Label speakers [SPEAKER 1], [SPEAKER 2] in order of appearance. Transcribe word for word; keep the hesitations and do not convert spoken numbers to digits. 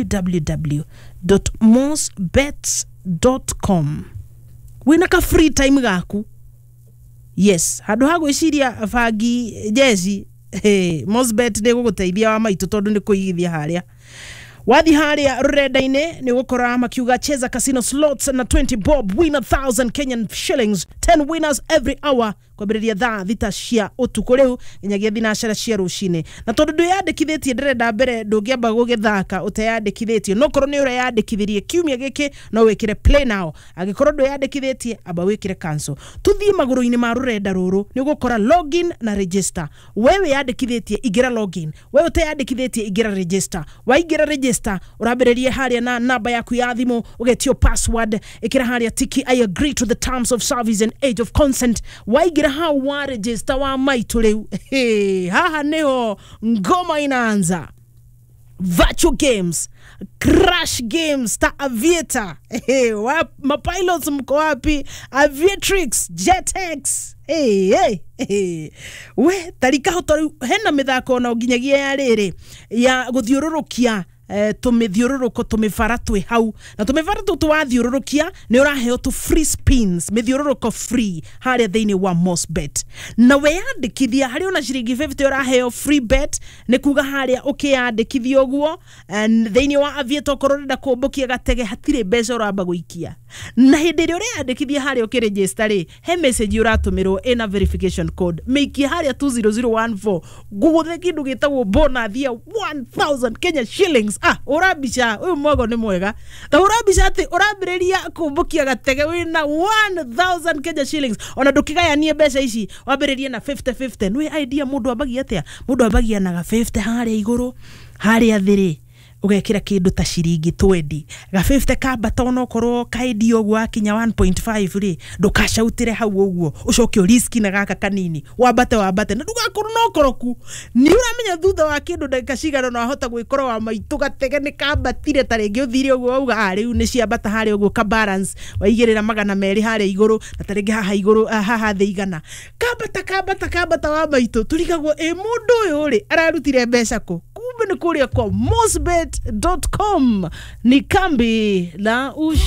[SPEAKER 1] w w w mosbets com. Wina ka free time gaku, yes, handå ha gwĩciria bangi jeci. Hey, Mosbet nĩ gũgũteithia wa maitũ tondũ nĩ kũigithia harĩa wathi harĩa rũrenda-inĩ nĩ ũgũkora makiuga cheza casino slots na twenty bob, win a thousand Kenyan shillings, ten winners every hour, kwambĩrĩria thaa thita cia ũtukũ rĩu nginyagia thinacara cia rũcinĩ. Na tondũ ndwĩyandĩkithĩtie, ndĩrenda mbere ndũngĩamba gũgĩthaka ũteyandĩkithĩtie. No korwo nĩ ũreyandĩkithirie kiumia gĩkĩ, no wĩkĩre play now. Angĩkorwo ndwĩyandĩkithĩtie, amba wĩkĩre cancel. Tũthiĩ magũrũ-inĩ ma rũrenda rũrũ, nĩ ũgũkora login na register. We wĩyandĩkithĩtie, ingĩra login. We ũteyandĩkithĩtie, ingĩra register. Waingĩra register, ũrambĩrĩria harĩa na namba yaku ya thimũ, ũgetio password, ĩkĩra harĩa tiki "I agree to the terms of service and age of consent". Waingĩra hau wa register, wa maitũ, rĩu hey, haha nĩho ngoma inaanza. Virtual games, crash games ta Aviator. Hey, wa, mapilots mko wapi? Aviatrix, Jetex. Hey, hey, hey. We tarika hoto rĩu hena mĩthako ona nginyagia ya rĩrĩ ya gũthiũrũrũkia eh, tũmĩthiũrũrũko, tũmĩbara twĩ hau, na tũmĩbara tũtũ wathiũrũrũkia nĩ ũraheo tũ free spins, mĩthiũrũrũko free harĩa thĩinĩ wa Mosbet. Na weyandĩkithia harĩ ona ciringi fifty ũraheo free bet. Nĩ kuga harĩa ũkĩyandĩkithia ũguo and thĩinĩ wa Aviator, okorwo ũrenda kũmbũkia gatege, hatirĩ mbeca ũramba gũikia. Na hĩndĩ ĩrĩa ũreyandĩkithia harĩa ũkĩregister rĩ, he message ũratũmĩrwo ĩna verification code. Mĩikie harĩa two zero zero one four, ngũgũthe kĩndũ gĩtagwo bonus ya one thousand Kenya shillings. Ah, ũrambica ũyũ mwago nĩ mwega. Ta ũrambica atĩ ũrambĩrĩria kũmbũkia gatege wĩna one thousand Kenya shillings. Ona ndũkĩgayanie mbeca ici, wambĩrĩrie na fifty fifty. Nĩ idea mũndũ ambagia atĩa? Mũndũ ambagia na ga fifty harĩa igũrũ, harĩa thĩ rĩ ũgekĩra kĩndũ ta ciringi twenty. Ga fifty kambata, onokorwo kaendio ũguo akinya one point five rĩ, ndũkacautĩre hau ũguo, ũcoke ũriski na gaka kanini, wambate wambate na ndũgakorwo na ũkoroku. Nĩ ũramenya thutha wa kĩndũ ndagĩka cigana na wahota gwĩkora wa maitũ gatege nĩ kambatire. Ta rĩngĩ ũthire ũguo wauga, ah, rĩu nĩ ciambata harĩa ũguo, ka balance waigĩrĩra magana merĩ harĩa igũrũ, na ta rĩngĩ haha igũrũ, ah, haha thĩ igana. Kambata kambata kambata, wa maitũ, tũrigagwo ĩ mũndũ ũyũ rĩ ararutire mbeca kũ? Kumbe nĩ kũrĩa kwa mosbet com. Ni kambi la ush